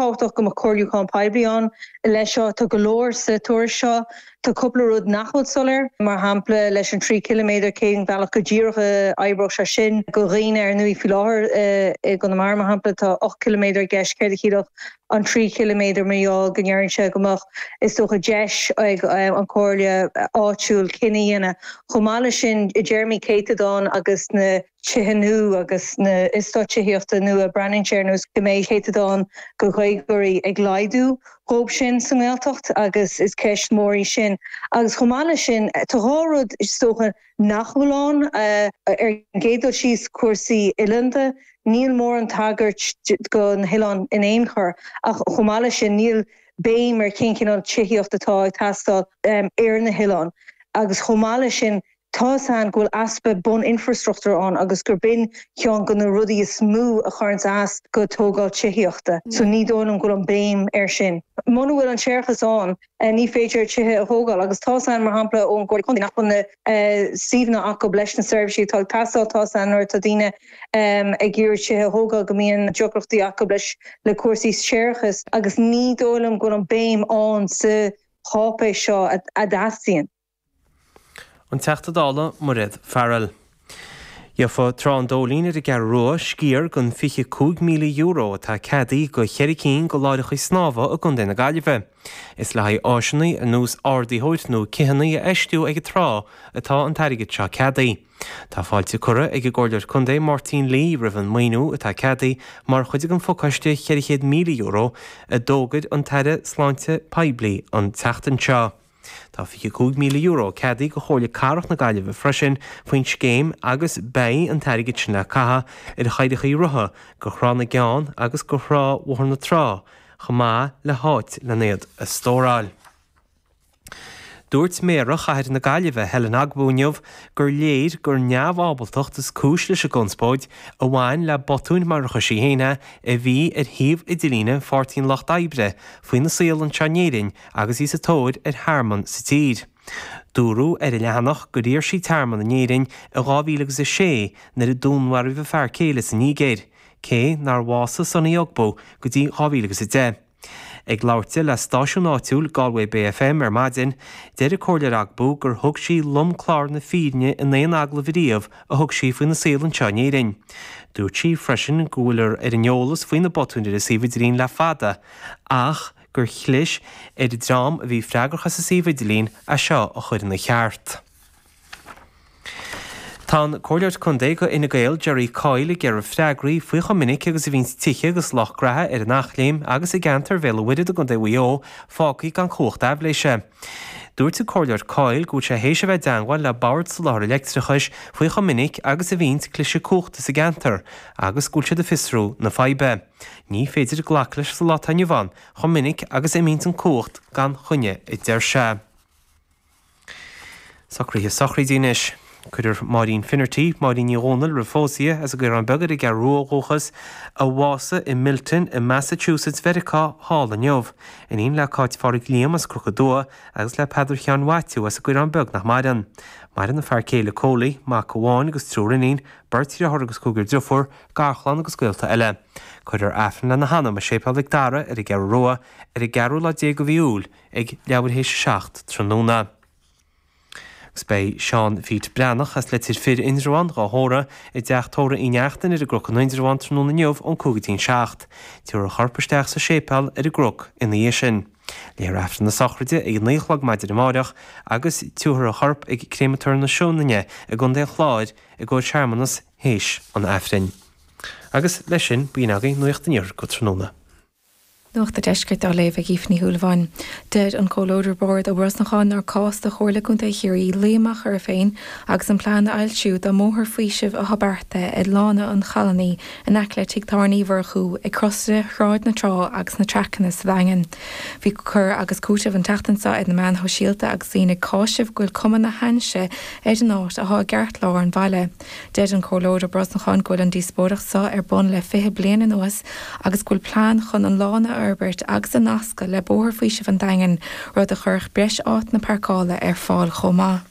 fíorthábhachtach go mbeadh comhairliúchán poiblí ann leis seo. Tá go leor sa tuairisc seo. Tá cúpla rud nach bhfuil soiléir, mar shampla leis an 3 chiliméadar, cén bealach go díreach a oibreodh sé sin do dhaoine ar ndóigh faoi láthair i gConamara mar shampla tá 8 chiliméadar i gceist, céard a chiallódh an 3 chiliméadar mar gheall go ndeireann sé go mbeadh is dócha deis ag an chomhairle áitiúil cinneadh a dhéanamh. Chomh maith leis sin i dtéarmaí céatadán agus na tithe nua agus na eastáit tithíochta nua, breathnaíonn sé ar nós go mbeidh céatadán de Ghaeilgeoirí ag laghdú dhóibh sin sa nGaeltacht agus is ceist mhór í sin. Agus chomh maith leis sin, tá dhá rud is dócha nach bhfuil ann. Ar an gcéad dul síos, cúrsaí oileánda, níl mórán tagairt do na hoileáin in aon chor ach chomh maith leis sin níl béim ar cén cineál tithíocht atá ag teastáil ar na hoileáin agus chomh maith leis sin Tá's a'inn go bhfuil easpa bun-infreastruchtúir ann agus gur b'in ceann de na rudaí is mó a chuireanns as go tógáil tithíochta. So ní dóigh liom go bhfuil an béim air sin. Muna bhfuil an séarachas ann ní féidir tithe a thógáil agus tá's a'inn mar shampla ón gComhairle Contae nach bhfuil na suíomhanna acu leis na seirbhísí atá ag teastáil. Tá's a'inn nuair atá daoine ag iarraidh tithe a thógáil go mbíonn deacrachtaí acu leis le cúrsaí séarachais agus ní dóigh liom go bhfuil an béim ann sa cháipéis seo a dteastaíonn. An Teachta Dála Mairéad Farrell. Gheofa Trá an Dóilín ar an gCeathrú Rua sciar den €25,000 atá ceadaithe do cheithre cinn de láithreacha snámha i gContae na Gaillimhe. Is le haghaidh áiseanna ar nós ardaitheoir nó cithheanna a fheistiú ag an trá atá an t-airgead seo ceadaithe. Tá fáilte curtha ag an gComhairleoir Contae Máirtín Lee roimh an maoiniú atá ceadaithe mar chuid den phacáiste €400,000 a d'fhógair an tAire Sláinte Poiblí an tseachtain seo. Tá €25,000 ceadaithe do Chomhairle Cathrach na Gaillimhe freisin faoin scéim agus beidh an t-airgead sin le caitheamh ar chathaoireacha rotha do Thrá na gCeann agus do Thrá Bhóthar na Trá chomh maith le háit len iad a stóráil. Dúirt Méara Chathair na Gaillimhe, Helen Ogbu inniu gur léir gur neamhábaltacht is cúis leis an gconspóid a bhain le botúin mar a chuir sí féin é a bhí ar shuíomh idirlíne Pháirtí an Lucht Oibre faoina saol anseo in Éirinn agus í sa tóir ar thearmann sa tír. Dúradh ar an leathanach gur iarr sí tearmann in Éirinn i 2006 nuair a dúnmharaíodh a fear céile sa Nigéir, cé nár bhásaigh Sunny Ogbu go dtí 2010. Ag labhairt di le stáisiún áitiúil Galway Bay FM ar maidin, deir an Comhairleoir Ogbu gur thug sí lomchlár na fírinne in aon agallamh ariamh a thug sí faoina saol anseo in Éirinn. Dúirt sí freisin go bhfuil ar an eolas faoi na botúin ar an suíomh idirlín le fada ach gur chlis ar an dream a bhí freagrach as an suíomh idirlín é seo a chur ina cheart. Tá an Comhairleoir Contae do Fhine Gael, Gerry Coyle ag iarraidh freagraí faoi chomh minic agus a bhíonns tithe agus lucht graithe ar an Eachléim agus i gceantar Bhéal an Mhuirthead i gContae Mhaigh Eo fágtha gan cumhacht aibhléise. Dúirt an Comhairleoir Coyle go bhfuil sé théis a bheith i dteangmháil le Bord Soláthair Leictreachais faoi chomh minic agus a bhíonns cliseadh cumhachta sa gceantar agus go bhfuil siad ag fiosrú na faidhbe. Ní féidir glacadh leis sa lá atá inniu ann chomh minic agus a imíonns an cumhacht gan choinne, a deir sé. Socruithe sochraide anois. Cuirfear Máirín Finnerty, Máirín Ní Dhomhnaill roimh phósadh í, as an gCaorán Beag ar an gCeathrú Rua ó dhúchas, a bhásaigh i Milton i Massachusetts Mheiriceá thall inniu. Iníon le Cáit Phádraig Liam as Cnoc an Dua agus le Peadar Sheáin Mhaitiú as an gCaorán Beag nach maireann. Maireann a fear céile Coley, mac amháin agus triúr iníon, beirt dheartháir agus cúigear driofúr, garchlann agus gaolta eile. Cuirfear Aifreann lena hanam i Séipéal Mhic Dara ar an gCeathrú Rua ar an gceathrú lá déag de mhí Iúil ag leathuair théis a 7 tráthnóna. Agus beidh Seán Phete Breathnach as Leitir Fir, Indreabhán, dhá thórramh i dteach tórraimh Uí Neachtain ar an gCnoc in Indreabhán tráthnóna inniu ón 5 go dtí an 7. Tabharfar a chorp isteach sa séipéal ar an gCnoc ina dhiaidh sin. Léifear Aifreann na sochraide ag a 9 a chlog maidin amáireach agus tabharfar a chorp ag Créamatóir na Sionainne i gContae an Chláir i gcomhair searmanas théis an Aifrinn. Agus leis sin, b'in agaibh Nuacht an Iarthair go tráthnóna. Nuacht an Deiscirt á léamh ag Aoife Ní Shúilleabháin. Deir an Comhairleoir Bord Ó Brosnacháin nár cás do Chomhairle Contae Chiarraí luí amach uirthi féin agus an plean a fhoilsiú dá mbóthar faoisimh atá beartaithe ar Lána an Challánaigh in aice le Tigh Tábhairne Uí Mhurchú ag crosaire Shráid na Trá agus na Traiceanna sa Daingean. Bhí cur agus cúiteamh an tseachtain seo ar na meáin shóisialta agus daoine ag cáiseamh go bhfuil cuma na hainnise ar an áit atá i gceartlár an bhaile. Deir an Comhairleoir Ó Brosnacháin go bhfuil an díospóireacht seo ar bun le 20 bliain anuas agus go bhfuil plean chun an lána a fhorbairt agus a nascadh le Bóthar Faoisimh an Daingin, rud a chuirfeadh breis áiteanna páirceála ar fáil chomh maith.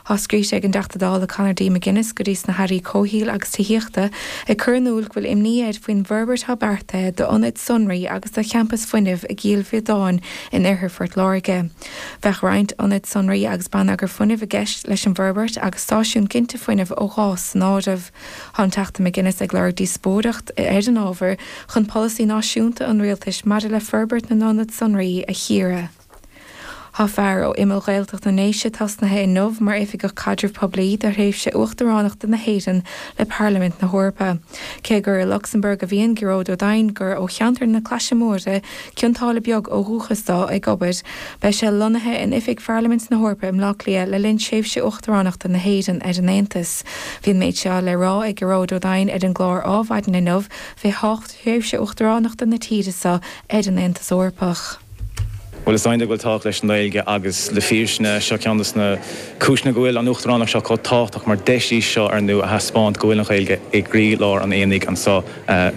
Tá scríte ag an dTeachta Dála Conor D. McGuinness go dtí sna hAirí Comhshaoil agus Tithíochta ag cur in iúl go bhfuil imní air faoin bhforbairt atá beartaithe d'ionaid sonraí agus do champas fuinnimh i gCill Bhiodáin in oirthear Phort Láirge. Bheadh roinnt ionad sonraí agus bonneagar fuinnimh i gceist leis an bhforbairt agus stáisiún ginte fuinnimh ó ghás san áireamh. Tá an Teachta McGuinness ag lorg díospóireacht ar an ábhar chun polasaí náisiúnta an rialtais maidir le forbairt na n-ionad sonraí a chíoradh. Tá fear ó imeall Ghaeltacht na nDéise tosnaithe inniu mar Oifigeach Caidrimh Poiblí do thréimhse Uachtaránachta na hÉireann le Parlaimint na hEorpa. Cé gur i Lucsamburg a bhíonn Gearóid Ó Doinn, gur ó cheantar na Claise Móire, Cionn tSáile Beag ó dhúchas dó, ag obair, beidh sé lonnaithe in oifig Pharlaimint na hEorpa i mBleá Cliath le linn tréimhse Uachtaránachta na hÉireann ar an Aontas. Bhí an méid seo le rá ag Gearóid Ó Doinn ar an gclár Ádhmhaidin inniu fé thábhacht thréimhse Uachtaránachta na tíre seo ar an Aontas Eorpach. Bhuel, is cinnte go bhfuil tábhacht leis an nGaeilge agus le fírinne, seo ceann de na cúiseanna go bhfuil an Uachtaránacht seo chomh tábhachtach mar deis í seo ar ndú a thaispeáint go bhfuil an Ghaeilge i gcroílár an aonaigh anseo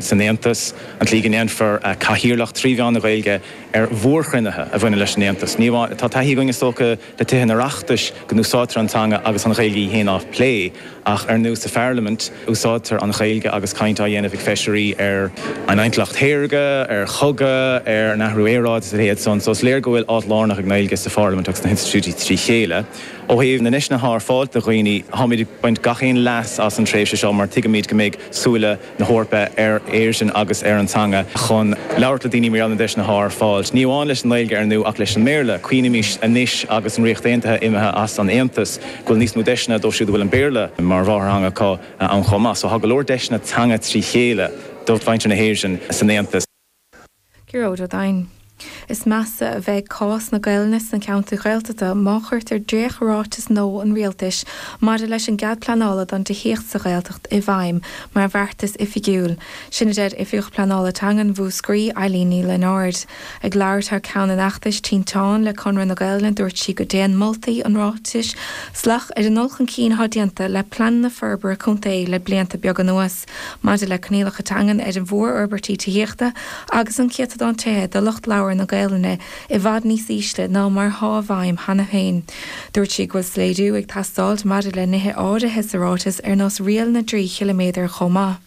san Aontas. An tslí go ndéanfar cathaoirleacht trí mheán na Gaeilge ar mhórchruinnithe a bhaineann leis an Aontas. Ní amháin, tá taithí againn is dócha le Tithe an Oireachtais go n-úsáidtear an teanga agus an Ghaeilge í féin á plé. Ach ar ndú sa Pharlaimint úsáidtear an Ghaeilge agus caint á dhéanamh ag feisirí ar an intleacht shaorga, ar chogadh, ar an athrú aeráide is a leithéid san. So is léir go bhfuil áit lárnach ag an nGaeilge sa Pharlaimint agus sna hinstitiúidí trí chéile. Ó thaobh na ndeiseanna atá ar fáil do dhaoine, táimid ag baint gach aon leas as an tréimhse seo mar tuigimid go mbeidh súile na hEorpa ar Éirinn agus ar an teanga chun labhairt le daoine mar gheall ar na deiseanna atá ar fáil. Ní amháin leis an nGaeilge ar ndú ach leis an mBéarla. Cuimhnímis anois agus an Ríocht Aontaithe imithe as an Aontas go bhfuil níos mó deiseanna dóibh siúd a bhfuil an Béarla mar mháthairtheanga acu ann chomh maith. So tá go leor deiseanna teanga trí chéile do mhuintir na hÉireann san Aontas. Gearóid Ó Doinn. Is measa a bheidh cás na Gaelainne sna ceantair Ghaeltachta má chuirtear dréacht-ráiteas nua an Rialtais maidir leis an gcead pleanála don tithíocht sa Ghaeltacht i bhfeidhm mar bheartas oifigiúil. Sin a deir Oifigeach Pleanála Teangan Mhúscraí, Eileen Ní Lionáird. Ag labhairt thar ceann an fheachtais Tinteán le Conradh na Gaelainne dúirt sí go dtéann moltaí an ráitis salach ar an dul chun cinn atá déanta le pleananna forbartha contae le blianta beaga anuas. Maidir le coinníollacha teangan ar mhórfhorbairtí tithíochta agus an céatadán tithe do lucht labhartha na Gaelainne i bhfad níos ísle ná mar atá i bhfeidhm cheana féin. Dúirt sí go bhfuil soiléiriú ag teastáilt maidir le nithe áirithe sa ráiteas ar nós riail na dtrí chiliméadar chomh maith.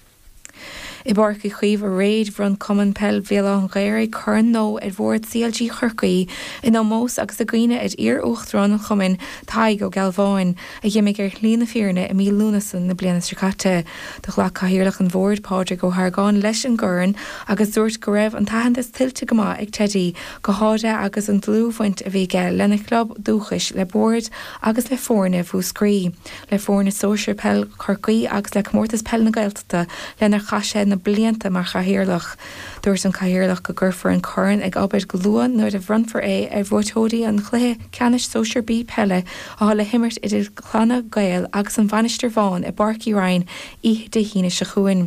I bPáirc Uí Chaoimh aréir, bhronn Cumann Peil Bhéal Átha an Ghaorthaidh corn nua ar Bhord CLG Chorcaí in ómós agus i gcuimhne ar iar-uachtarán an chumainn, Tadhg Ó Gealbháin. a dh'imigh ar shlí na fírinne i mí Lúnasa na bliana seo caite. Do ghlac Cathaoirleach an Bhoird, Pádraig Ó hArgáin, leis an gcorn agus dúirt go raibh an t-aitheantas tuillte go maith ag Teidí, go háirithe agus an dlúthbhaint a bhí aige lena chlub dúchais, le Bord agus le foirne Mhúscraí, le foirne sóisir peil Chorcaí agus le Comórtas Peile na Gaeltachta lenar chaith sé na blianta mar chathaoirleach. Dúirt an Cathaoirleach go gcuirfear an corn ag obair go luath nuair a bhronnfar é ar bhuaiteoirí an chluiche ceannais Sóisir B peile atá le himirt idir Clanna Gael agus an Mhainistir Bhán i bPáirc Uí Rinn oíche Dé hAoine seo chugainn.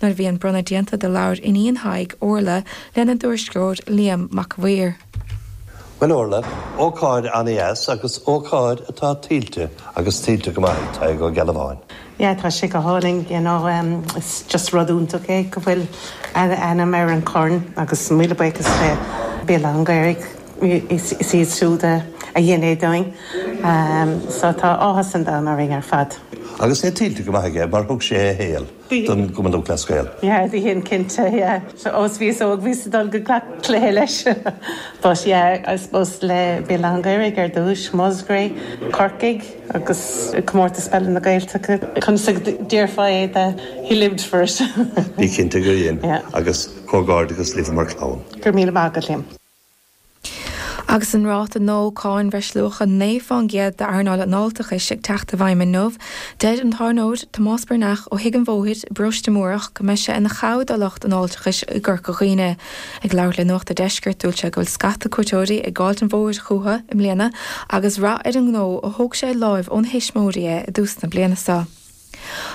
Nuair a bhí an bronnadh déanta do labhair iníon Thaidhg, Orla, lena dtuairisceoir Liam Mac a' Mhaoir. Bhuel Orla, ócáid an-dheas agus ócáid atá tuillte agus tuillte go maith ag Tadhg Ó Gealbháin. Yeah tá sé go hálainn you know is just rud iontach é go bhfuil a ainm ar an chorn agus míle buíochas le Béal Átha an Ghaorthaidh is iad siúd a dhein é dúinn so tá áthas an domhain orainn ar fad. Agus é tuillte go maith aige mar thug sé a shaol don gCumann Lúthchleas Gael. Yeah dhein cinnte yeah so ó bhíos óg bhíos ag dul go gach cluiche leis but yeah I suppose le Béal Átha an Ghaorthaidh ar dtús, Musgrave, Corcaigh. Agus Comórtas Peile na Gaeltachta, conas a déarfá é de he lived for it. Bí cinnte gur dhein, agus comhghairdeachas libh mar chlann. Go raibh míle maith agat, Liam. Agus an ráta nua cáin bhreisluacha 9% d'earnáil an fháilteachais ag teacht i bhfeidhm inniu, deir an tábhairneoir Tomás Breathnach ó Thigh an Bhóthair i bParóiste Múrach go mbeidh sé ina chabhair do lucht an fháilteachais i gCorca Dhuibhne. Ag labhairt le Nuacht a' Deiscirt, dúirt sé go bhfuil scata cuairteoirí ag gabháilt an bhóthair chucu i mbliana agus rath ar an ngnó ó thóg sé láimh óna thuismitheoirí é i dtús na bliana seo.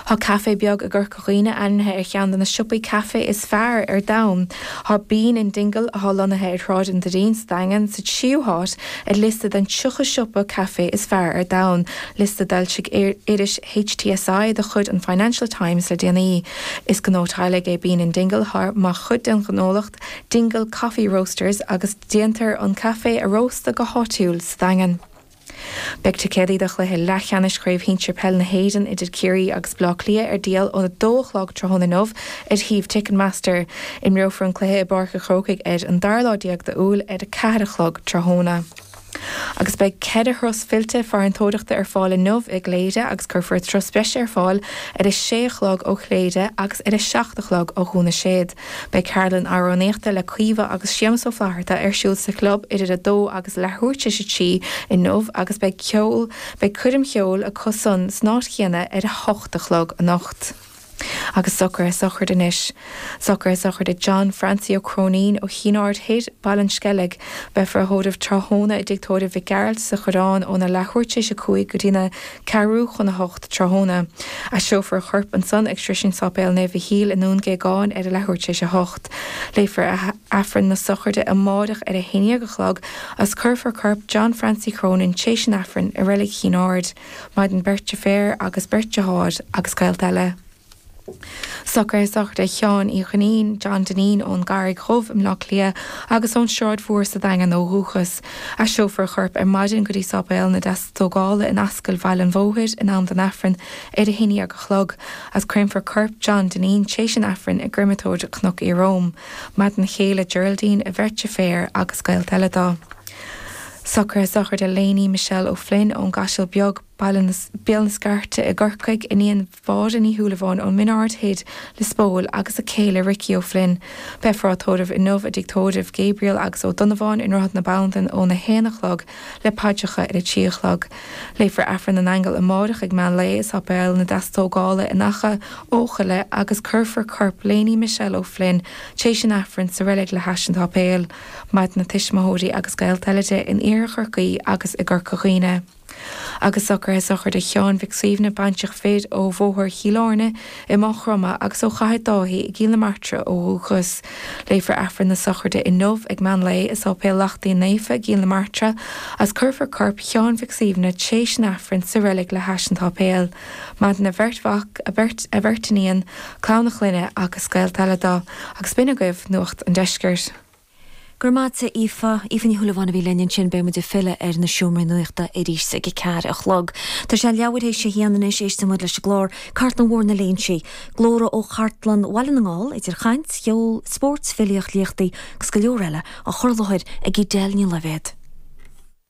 Tá caifé beag i gCorca Dhuibhne ainmnithe ar cheann de na siopaí caife is fearr ar domhan. Tá Bean in Dingle, atá lonnaithe ar Shráid an Doirín sa Daingean, sa tríú háit ar liosta den 30 siopa caife is fearr ar domhan, liosta a d'fhoilsigh iris HTSI de chuid an Financial Times le déanaí. Is gnó teaghlaigh é Bean in Dingle atá mar chuid den ghnólacht Dingle Coffee Roasters agus déantar an caife a róstadh go háitiúil sa Daingean. Beidh ticéadaí do chluiche leathcheannais Chraobh Shinsir Peile na hÉireann idir Ciarraí agus Baile Átha Cliath ar díol ón 2 a chlog tráthnóna inniu ar shuíomh Ticketmaster. Imreofar an cluiche i bPáirc an Chrócaigh ar an dara lá déag d'Iúil ar 4 a chlog tráthnóna. Agus beidh 4 thuras fillte farantóireachta ar fáil inniu i gCléire agus cuirfear turas breise ar fáil ar a sé a chlog ó Chléire agus ar a 7 a chlog ó Dhún na Séad. Beidh ceardlann amhránaíochta le Caoimhe agus Séamus Ó Flatharta ar siúl sa chlub idir 2 agus leathuair tar éis 3 inniu agus beidh ceol, beidh coirm cheoil acu san san áit chéanna ar a hocht a chlog anocht. Agus socruithe sochraide anois. Socruithe sochraide John Francie Ó Cróinín ó Chinn Aird Thoir, Baile an Sceilg. Beifear á thórramh tráthnóna i dTigh Tórraimh Mhic Gearailt sa Choireán óna leathuair tar éis 5 go dtína ceathrú chun 8 tráthnóna. Aistreofar a chorp ansan ag Sroisint Sáipéal Naomh Mhichíl i nDún Géagáin ar a leathuair tar éis 8. Léifear Aifreann na sochraide amáireach ar a haon déag a chlog agus cuirfear corp John Francie Chronin tréis an Aifrinn i Reilig Chinn Aird. Maireann beirt deirféar agus beirt deartháir agus gaolta eile. Socruithe sochraide Sheáin Uí Dhuinnín, John Dineen, ón gCarraig Dhubh i mBleá Cliath agus ón Sráid Mhór sa Daingean ó dhúchas. Aistreofar a chorp ar maidin go dtí Sáipéal na Deastógála in Ascaill Bhaile an Bhóthair in am don Aifreann ar a haon déag a chlog agus créamfar corp John Dineen tréis an Aifrinn i gcreimeatóir Chnoc Ieróm. Maireann a chéile Geraldine, a bheirt deirféar agus gaolta eile dó. Socruithe sochraide Léiní Michelle O'Flynn ón gCaiseal Beag, Baile Béal na Scairte i gCorcaigh, iníon Mháire Ní Shúilleabháin ón Min Ard Thoir, Lios Póil, agus a céile Ricky O'Flynn. Beifear á tórramh inniu i dTigh Tórraimh Gabriel agus Ó Donnabháin i nDroichead na Bandan óna haon a chlog le paidreacha ar a trí a chlog. Léifear Aifreann na nAingeal amáireach ag meán lae i Sáipéal na Deastógála in Achadh Eochaille agus cuirfear corp Léiní Michelle O'Flynn tréis an Aifrinn sa reilig le hais an tsáipéil. Maireann a tuismitheoirí agus gaolta eile di in Iarthar Chorcaí agus i gCorca Dhuibhne. Agus socruithe sochraide Sheáin Mhic Suibhne, baintreach fir ó Bhóthar Chill Airne i Maigh Chromtha agus ó Chathair Dáithí i gCill na Martra ó dhúchas. Léifear Aifreann na sochraide inniu ag meán lae i Sáipéal Lachtaín Naofa i gCill na Martra agus cuirfear corp Sheáin Mhic Suibhne tréis an Aifrinn sa reilig le hais an tsáipéil. Maireann a bheirt mhac, a bheirt a bheirt iníon, clann a chlainne agus gaolta eile dó. Agus b'in agaibh Nuacht an Deiscirt. Go raibh maith agat, a Aoife. Aoife Ní Shúilleabháin a bhí linn ansin. Beidh muid ag filleadh ar na seomraí nuachta arís ag a ceathair a chlog. Tá sé leathuair théis a haon anois, éisteann muid leis an gclár Cartlann Mhór na Léinsí. Glórtha ó Chartlann Bhaile na nGall, idir chaint, cheol, spórt, filíocht, léachtaí agus go leor eile, á chur i láthair ag Edel Ní Loibhéad.